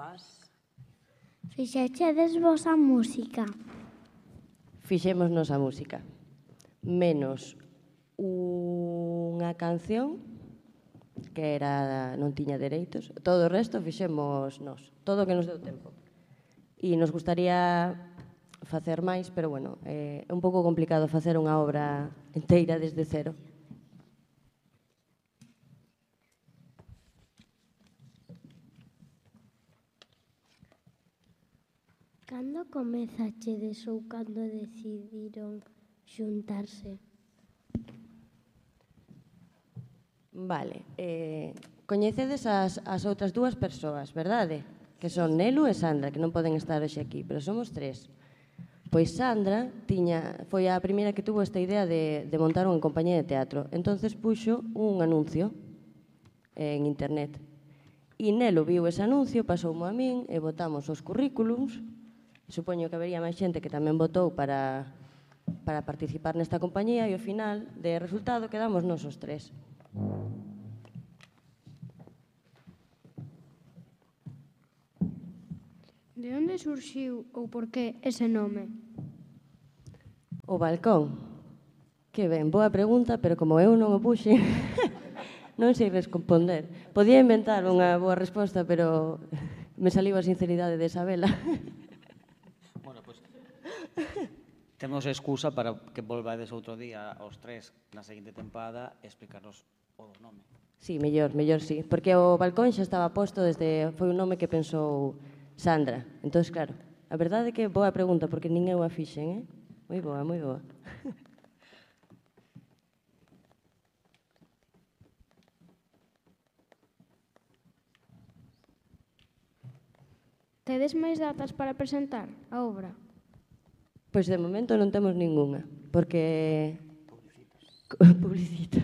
Paz. Fixechedes vos a música? Fixémonos a música. Menos unha canción que non tiña dereitos. Todo o resto fixemos nós. Todo o que nos deu tempo. E nos gustaría facer máis, pero bueno, é un pouco complicado facer unha obra inteira desde cero. Cando comezachedes ou cando decidiron xuntarse? Vale. Coñecedes as outras dúas persoas, verdade? Que son Nelu e Sandra, que non poden estar hoxe aquí, pero somos tres. Pois Sandra foi a primeira que tuvo esta idea de montar unha compañía de teatro. Entonces puxo un anuncio en internet. E Nelu viu ese anuncio, pasoumo a min e votamos os currículums. Supoño que habería máis xente que tamén votou para participar nesta compañía e ao final, de resultado, quedamos nos os tres. De onde surxiu ou por que ese nome? O balcón. Que ben, boa pregunta, pero como eu non o puxe, non sei responder. Podía inventar unha boa resposta, pero me saliu a sinceridade de Isabela. Bueno, pois temos excusa para que volvades outro día aos tres na seguinte tempada e explicarnos o nome. Sí, mellor sí, porque o balcón xa estaba posto foi un nome que pensou Sandra. Entón, claro, a verdade é que boa pregunta, porque nin eu a fixen, Moi boa, moi boa. Tedes máis datas para presentar a obra? Pois de momento non temos ningunha, porque... Publicita.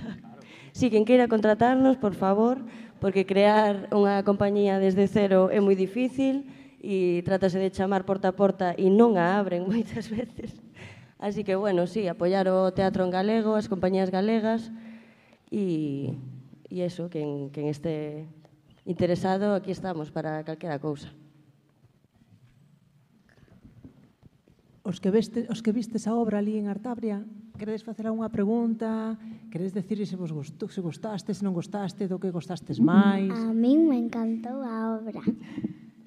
Si, quen queira contratarnos, por favor, porque crear unha compañía desde cero é moi difícil e trátase de chamar porta a porta e non a abren moitas veces. Así que, bueno, sí, apoiar o teatro en galego, as compañías galegas e eso, quen este interesado, aquí estamos para calquera cousa. Os que vistes a obra ali en Artabria, queredes facer algunha pregunta? Queredes decir se vos gustou, se gostaste, se non gostaste, do que gostastes máis? A min me encantou a obra.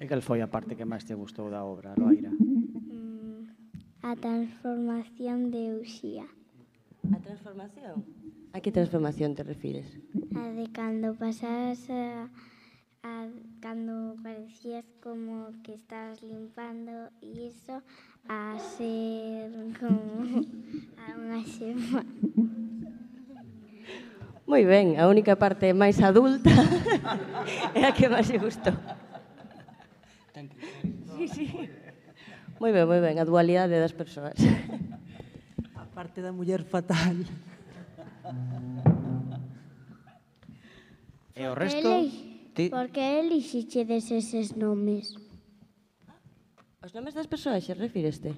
E cal foi a parte que máis te gustou da obra, Loaira? A transformación de Uxía. A transformación? A que transformación te refires? A de cando pasabas cando parecías como que estabas limpando e iso a ser como a unha xema. Moi ben, a única parte máis adulta é a que máis me gustou. Sí. Moi ben, a dualidade das persoas. A parte da muller fatal. E o resto... Por que elixichedes eses nomes? Os nomes das persoaxes, refíreste?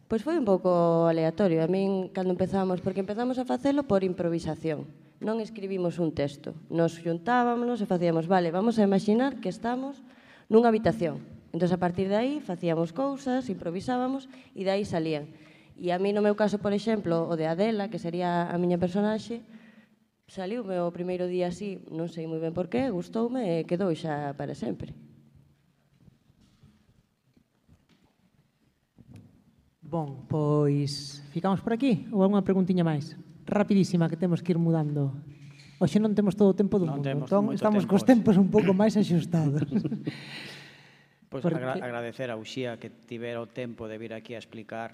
Pois foi un pouco aleatorio. A min, cando empezamos, porque empezamos a facelo por improvisación. Non escribimos un texto. Nos xuntábamos e facíamos, vale, vamos a imaginar que estamos nunha habitación. Entón, a partir de aí, facíamos cousas, improvisábamos e de aí salían. E a mí, no meu caso, por exemplo, o de Adela, que sería a miña personaxe, saliume o primeiro día así, non sei moi ben por qué, gustoume e quedou xa para sempre. Bon, pois ficamos por aquí ou algunha preguntiña máis? Rapidísima, que temos que ir mudando. Hoxe non temos todo o tempo do mundo, entón estamos cos tempos un pouco máis axustados. Pois agradecer a Uxía que tivera o tempo de vir aquí a explicar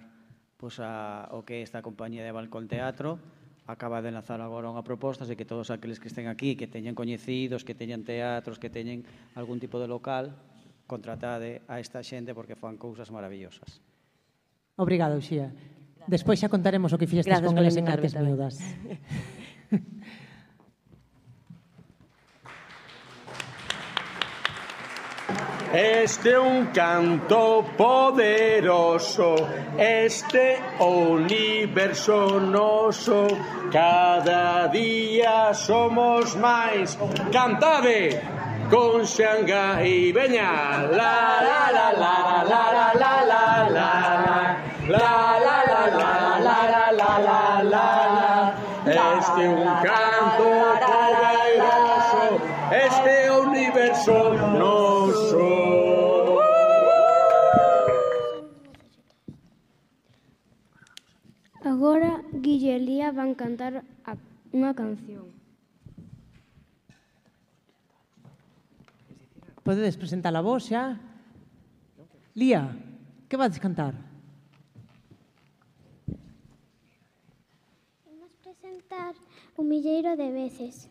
o que é esta compañía de Balcón Teatro. Acaba de lanzar agora unha proposta, así que todos aqueles que estén aquí, que teñen coñecidos, que teñen teatros, que teñen algún tipo de local, contratade a esta xente porque fan cousas maravillosas. Obrigado, Uxía. Despois xa contaremos o que fixestes con eles en Artes Miúdas. Este é un canto poderoso, este universo noso, cada día somos máis. Cantade! con Xangai. Veña, la la la la la la la la la la la la la la la la la la. Este é un canto poderoso, este é o universo noso. Agora Guille e Lía van cantar unha canción. Podedes presentar a vos xa? Lía, que vades cantar? Vamos presentar Un milleiro de veces.